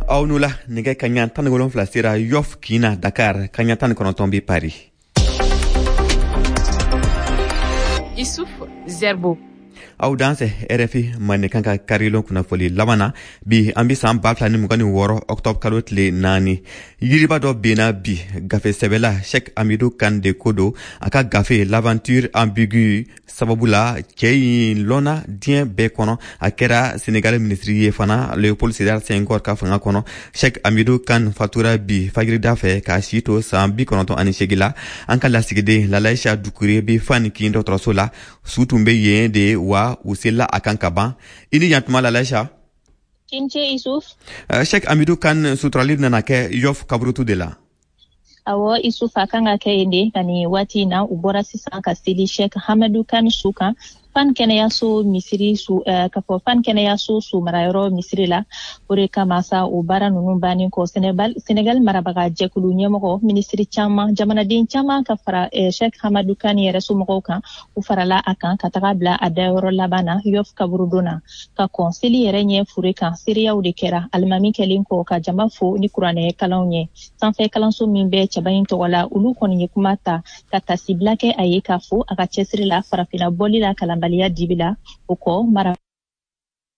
Aw ni wula. Nɛgɛ kaɲa 17 sera Yoff kin na Dakar, kaɲa 19 bɛ Paris. Issouf Zerbo. Aw dansɛ RFI Mandenkan ka karilon kunnafoli laban na. Bi, an be san 2026 octobre kalo tile 4. Yiriba dɔ benna bi. Gafe sɛbɛla Cheikh Hamidou Kane de ko don. A ka gafe L'aventure ambiguë sababu la, cɛɛ yin lɔnna diɲɛ bɛɛ kɔnɔ. A kɛra Senegal minisiri ye fana Léopold Sédar Senghor ka fanga kɔnɔ. Cheikh Hamidou Kane fatura bi fajirida fɛ k'a si to san 98 la. An ka lasigiden Lalaïcha Dukure be Fan kin dɔgɔtɔrɔso la. Su tun be yen de wa, u selila a kan ka ban. I ni yantuma, Lalaïcha. I ni ce, Isuf. Cheikh Hamidou Kane suturali nana kɛ Yoff kaburutu de la. Awɔ, Isuf, a kan ka kɛ yen de. Ka nin waati in na, u bɔra sisan ka seli Cheikh Hamidou Kane su kan Fan kɛnɛyaso misiri su, ka fɔ Fan kɛnɛyaso su marayɔrɔ misiri la. O de kama sa, o baara ninnu bannen kɔ, Senegal marabaga jɛkulu ɲɛmɔgɔ, minisiri caman, jamanaden caman ka fara Cheikh Hamidou Kane yɛrɛ somɔgɔw kan, u farala a kan ka taga bila a dayɔrɔ laban na Yoff kaburudon na. Ka kɔn seli yɛrɛ ɲɛ fure kan, seereyaw de kɛra alimami kɛlen kɔ ka jama fo ni kuranɛ kalanw ye. Sanfɛ kalanso min bɛ cɛba in tɔgɔ la, olu kɔni ye kuma ta ka tasibila kɛ a ye, k'a fo a ka cɛsiri la farafinna bɔli la kalanbaliya dibi la. O kɔ mara